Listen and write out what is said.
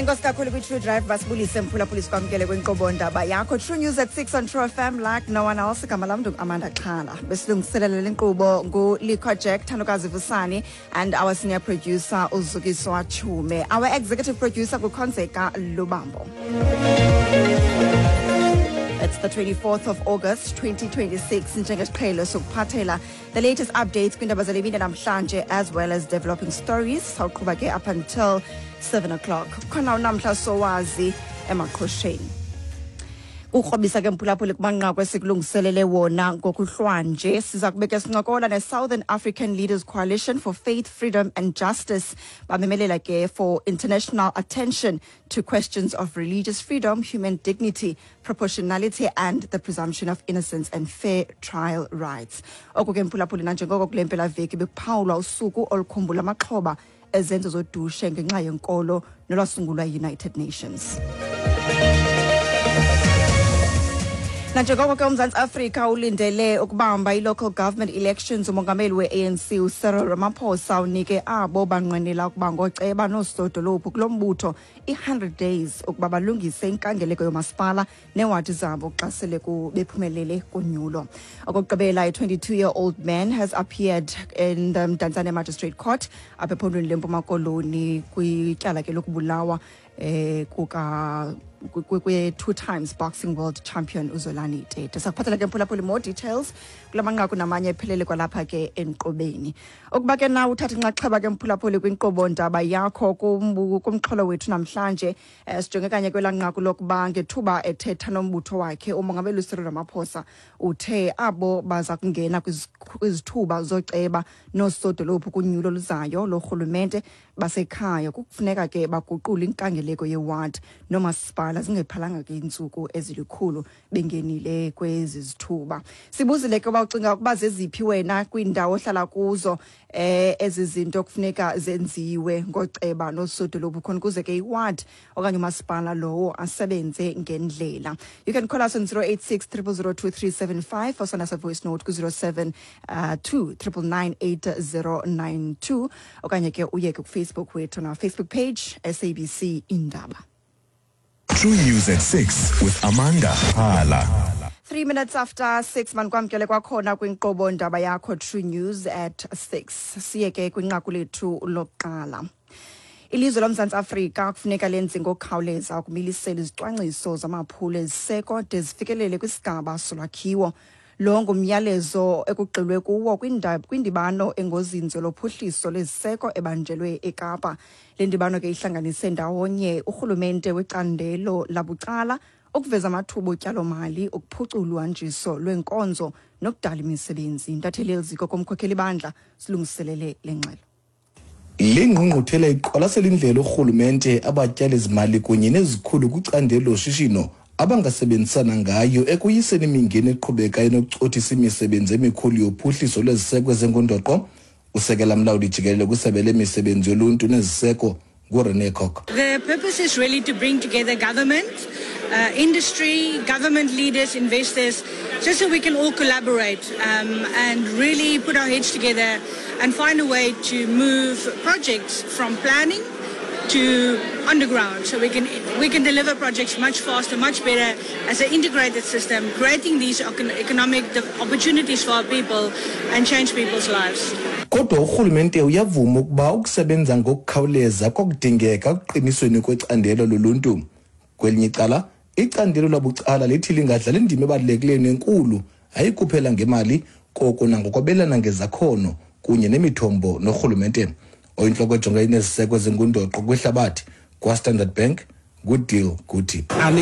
Enkosi kakhulu kwi-True Drive. Basibulise, mphulaphuli, sikwamkele kwinkqubo ndaba yakho True News at 6 on True FM like no one else. Igama lam Amanda Xhala. Besilungiselela le nkqubo nguLikho Jack Thandokazi Vusani and our senior producer uZukiswa Chume. Our executive producer kuKhonzeka Lubambo. It's the 24th of August 2026. Njengesiqhelo sokuphathela the latest updates kwiindaba zale mini namhlanje as well as developing stories. Sawuqhuba ke up until 7 o'clock. Khona unamhla sowazi emaqhosheni. Ukrobisa ke, mphulaphuli, kumanqaku esikulungiselele wona ngokuhlwanje. Siza kubeka sincokola ne-Southern African Leaders Coalition for Faith, Freedom and Justice. Bamemelela ke for international attention to questions of religious freedom, human dignity, proportionality and the presumption of innocence and fair trial rights. Oku ke, mphulaphuli, nanjengoko kule mpelaveki bekuphawulwa usuku olukhumbula amaxhoba ezenzo zodushe ngenxa yenkolo nolwasungulwa yi-United Nations. Nanjengoko ke uMzantsi Afrika ulindele ukubamba i-local government elections, umongameli we-ANC uCyril Ramaphosa unike abo banqwenela ukuba ngooceba noosodolophu kulo mbutho i-100 days ukuba balungise inkangeleko yomasipala neewadi zabo xa sele bephumelele kunyulo. Okokugqibela, a 22-year-old man has appeared in the Mdantsane Magistrate Court apha ephondweni leMpuma Koloni kwityala ke lokubulawa kuka kwe two times boxing world champion uZolani Tete. Sakuphathela ke, mphulaphuli, more details kula manqaku namanye ephelele kwalapha ke enkqubeni. Ukuba ke na uthatha inxaxheba ke, mphulaphuli, kwinkqubo ndaba yakho kumxholo wethu namhlanje, sijonge kanye kwelaa nqaku lokuba ngethuba ethetha nombutho wakhe, umongameli uCyril Ramaphosa uthe abo baza kungena kwizithuba zoceba noosodolophu kunyulo oluzayo lorhulumente basekhaya kufuneka ke baguqule inkangeleko yeward noomasipala zingephalanga ke iintsuku ezilikhulu bengenile kwezi zithuba. Sibuzile ke uba ucinga ukuba zeziphi wena kwiindawo ohlala kuzo ezi zinto kufuneka zenziwe ngoceba noosodolophu khona ukuze ke iward okanye umasipala lowo asebenze ngendlela. You can call us on 086 0002375 or send us a voice note ku-07 2 999 8092 okanye ke uye ke kuFacebook wethu na Facebook page SABC Indaba. True News at 6 with Amanda Hala. 3 minutes after 6, manikwamkele kwakhona kwinkqubo ndaba yakho True News at 6. Siye ke kwinqaku lethu lokuqala. Ilizwe loMzantsi Afrika kufuneka lenze ngokukhawuleza ukumilisela izicwangciso zamaphulo eziseko de zifikelele kwisigaba solwakhiwo. Lo ngumyalezo ekugxilwe kuwo kwindibano engozinzo lophuhliso lweziseko ebanjelwe eKapa. Le ndibano ke ihlanganise ndawonye urhulumente wecandelo labucala ukuveza amathuba otyalomali, ukuphucula uhanjiso lweenkonzo nokudala imisebenzi. Intatheli yeliziko komkhokheli bandla silungiselele le ngxelo. Le ngqungquthela iqwalasela indlela urhulumente, abatyali-zimali kunye nezikhulu kwicandelo loshishino abangasebenzisana ngayo ekuyiseni imingeni eqhubekayo enokucothisa imisebenzi emikhulu yophuhliso lweziseko ezingundoqo. Usekela mlawuli jikelele kwisebe lemisebenzi yoluntu neziseko nguRene Kock. The purpose is really to bring together government, industry, government leaders, investors, just so we can all collaborate and really put our heads together and find a way to move projects from planning to underground so we can deliver projects much faster, much better as an integrated system, creating these economic opportunities for our people and change people's lives. Kodwa urhulumente uyavuma ukuba ukusebenza ngokukhawuleza kwakudingeka ekuqinisweni kwecandelo loluntu. Kwelinye icala, icandelo labucala lithi lingadlala indima ebalulekileyo nenkulu, hayi kuphela ngemali koko nangokwabelana ngezakhono kunye nemithombo norhulumente. Oyintloko ejonge ineziseko ezingundoqo kwihlabathi kwaStandard Bank nguDeal Guti. An